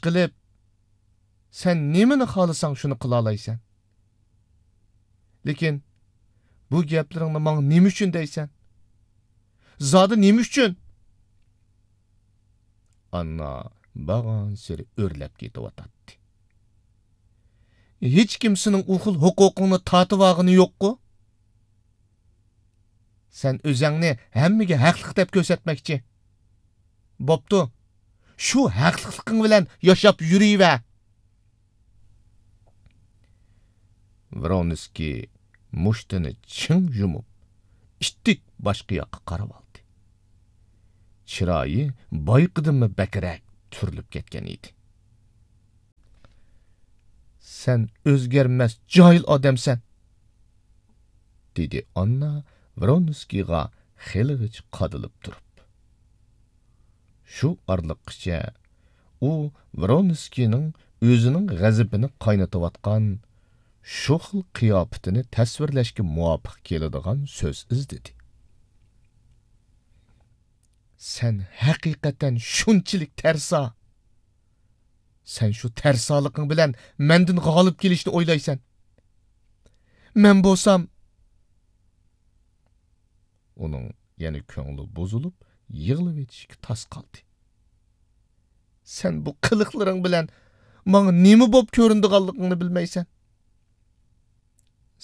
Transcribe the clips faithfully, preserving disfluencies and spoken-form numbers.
قىلىپ، سەن نېمىنى خالىساڭ، شۇنى قىلالايسەن. لېكىن بۇ گەپلىرىڭنى ماڭا نېمە ئۈچۈن دەيسەن؟ زادى نېمە ئۈچۈن؟ ئاننا بارغانسېرى ئۆرلەپ كېتىۋاتاتتى. ھېچكىم سېنىڭ ئۇ خىل ھوقۇقۇڭنى تارتىۋالغىنى يوققۇ؟ سەن ئۆزەڭنى ھەممىگە ھەقلىق دەپ كۆرسەتمەكچى. بوپتۇ، شۇ ھەقلىقلىقىڭ بىلەن ياشاپ يۈرۈۋەر. ۋرونسكىي مۇشتىنى چىڭ يۇمۇپ، ئىتتىك باشقا ياققا قاراۋالدى. چىرايى بايىقىدىنمۇ بەكرەك تۈرۈلۈپ كەتكەن ئىدى. سەن ئۆزگەرمەس جاھىل ئادەمسەن، دېدى ئاننا ۋرونسكىيغا خېلىغىچە قادىلىپ تۇرۇپ. شۇ ئارىلىققىچە ئۇ ۋرونسكىينىڭ ئۆزىنىڭ غەزىپىنى قاينىتىۋاتقان شۇ خىل قىياپىتىنى تەسۋىرلەشكە مۇۋاپىق كېلىدىغان سۆز ئىزدىدى. سەن ھەقىقەتەن شۇنچىلىك تەرسا. سەن شۇ تەرسالىقىڭ بىلەن مەندىن غالىب كېلىشنى ئويلايسەن. مەن بولسام، ئۇنىڭ يەنە كۆڭلى بۇزۇلۇپ، يىغلىۋېتىشكە تاس قالدى. سەن بۇ قىلىقلىرىڭ بىلەن ماڭا نېمە بولۇپ كۆرۈنىدىغانلىقىڭنى بىلمەيسەن.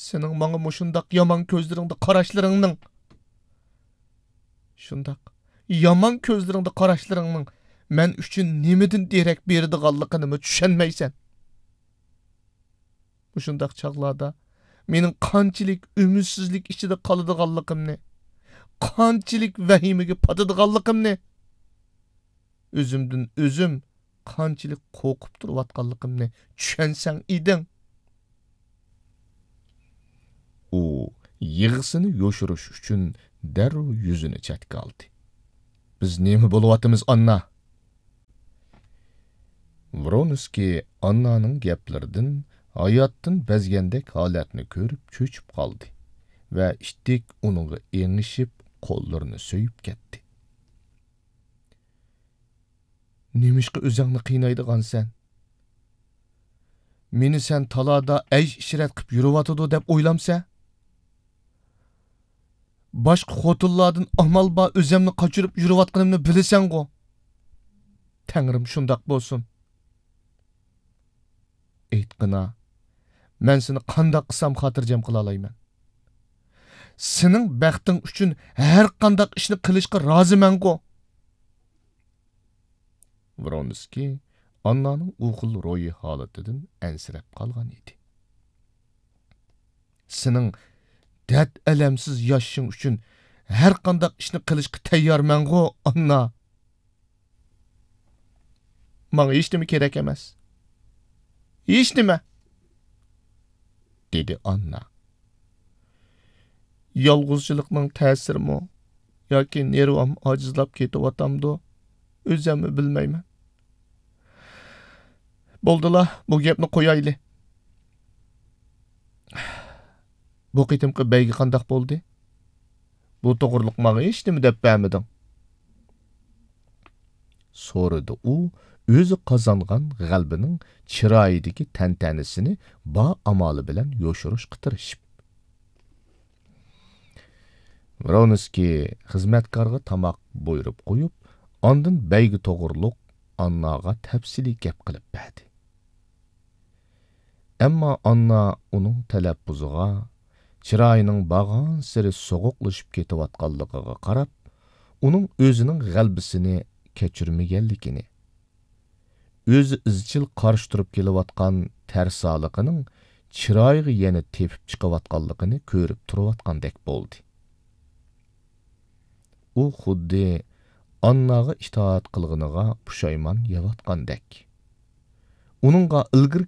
سېنىڭ ماڭا مۇشۇنداق يامان كۆزلىرىڭدە قاراشلىرىڭنىڭ، شۇنداق يامان كۆزلىرىڭدە قاراشلىرىڭنىڭ مەن ئۈچۈن نېمىدىن دېرەك بېرىدىغانلىقىنىمۇ چۈشەنمەيسەن. مۇشۇنداق چاغلاردا مېنىڭ قانچىلىك ئۈمىدسىزلىك ئىچىدە قالىدىغانلىقىمنى، قانچىلىك ۋەھىمىگە پاتىدىغانلىقىمنى، ئۆزۈمدىن ئۆزۈم قانچىلىك قورقۇپ تۇرۇۋاتقانلىقىمنى چۈشەنسەڭ ئىدىڭ. ئۇ يىغىسىنى يوشۇرۇش ئۈچۈن دەررۇ يۈزىنى چەتكە ئالدى. بىز نېمە بولۇۋاتىمىز، ئاننا؟ ۋرونسكىي ئاننانىڭ گەپلىرىدىن ھاياتتىن بەزگەندەك ھالەتنى كۆرۈپ چۆچۈپ قالدى ۋە ئىتتىك ئۇنىڭغا ئېڭىشىپ، قوللىرىنى سۆيۈپ كەتتى. نېمىشقا ئۆزۈڭنى قىينايدىغانسەن؟ مېنى سەن تالادا ئەيش-ئىشرەت قىپ يۈرۈۋاتىدۇ دەپ ئويلامسەن؟ باشقا خوتۇنلاردىن ئامال بار ئۆزۈمنى قاچۇرۇپ يۈرۈۋاتقىنىمنى بىلىسەنغۇ؟ تەڭرىم شۇنداق بولسۇن. ئېيتقىنا، مەن سېنى قانداق قىلسام خاتىرجەم قىلالايمەن؟ سېنىڭ بەختىڭ ئۈچۈن ھەر قانداق ئىشنى قىلىشقا رازىمەنغۇ؟ ۋرونسكىي ئاننانىڭ ئۇ خىل روھىي ھالىتىدىن ئەنسىرەپ قالغان ئىدى. سېنىڭ دەرد-ئەلەمسىز ياشىشىڭ ئۈچۈن ھەر قانداق ئىشنى قىلىشقا تەييارمەنغۇ، ئاننا؟ ماڭا ھېچنېمە كېرەك ئەمەس. ھېچنېمە! دېدى ئاننا. يالغۇزچىلىقنىڭ تەسىرىمۇ ياكى نېرۋام ئاجىزلاپ كېتىۋاتامدۇ، ئۆزەممۇ بىلمەيمەن. بولدىلا، بۇ گەپنى قويايلى. بۇ قېتىمقى بەيگە قانداق بولدى؟ بۇ توغرىلىق ماڭا ھېچنېمە دەپ بەرمىدىڭ. سورىدى ئۇ، ئۆزى قازانغان غەلىبىنىڭ چىرايىدىكى تەنتەنىسىنى بار ئامالى بىلەن يوشۇرۇشقا تىرىشىپ. ۋرونسكىي خىزمەتكارغا تاماق بۇيرۇپ قويۇپ، ئاندىن بەيگە توغرۇلۇق ئانناغا تەپسىلىي گەپ قىلىپ بەردى. ئەمما ئاننا ئۇنىڭ تەلەپپۇزىغا، چىرايىنىڭ بارغانسېرى سوغۇقلىشىپ كېتىۋاتقانلىقىغا قاراپ، ئۇنىڭ ئۆزىنىڭ غەلىبىسىنى كەچۈرمىگەنلىكىنى، ئۆزى ئىزچىل قارشى تۇرۇپ كېلىۋاتقان تەرسالىقىنىڭ چىرايىغا يەنە تېپىپ چىقىۋاتقانلىقىنى كۆرۈپ تۇرۇۋاتقاندەك بولدى. ئۇ خۇددى ئانناغا ئىتائەت قىلغىنىغا پۇشايمان يەۋاتقاندەك. ئۇنىڭغا ئىلگىرى